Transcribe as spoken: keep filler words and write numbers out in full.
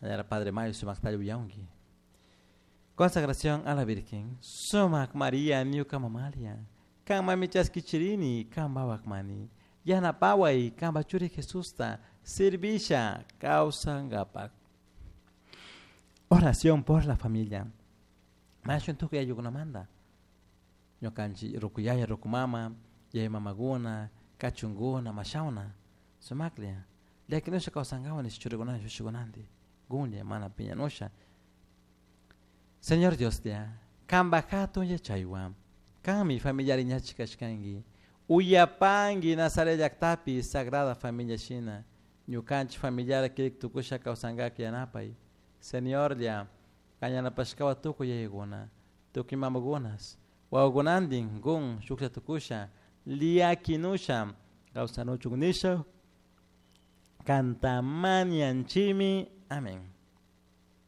Señora Padre Mayo sumakta uyanki. Consagración a la Virgen. Sumak María ñuka mamalia. Kanman chaskichirini kanpaj mani. Yanapahuai kanpaj churi Jesusta servisha kawsankapak. Oración por la familia. Mañashun tukuy ayllukunamanta. Ñukanchik rukuyaya rukumama, yaya mamakuna, kachunkuna, mashawna, sumaklla. Llakinusha kawsankawan nish churikunanti shushikunanti. Gunlla mana piñanusha. Señor Dioslla, kanpaj hatun yachaywan, kanmi familiari ñachi kashkanki. Uyapanki Nazaret llaktapi Sagrada Familia shina. Ñukanchik familiar kirik tukusha kawsankak yanapay. Señorlla, kan yanapashkawan tukuy yayakuna, tukuy mamakunas, wawakunantin gun shuklla tukusha, llakinusha kawsanuchun nisha, kanta mañanchimi. Amén.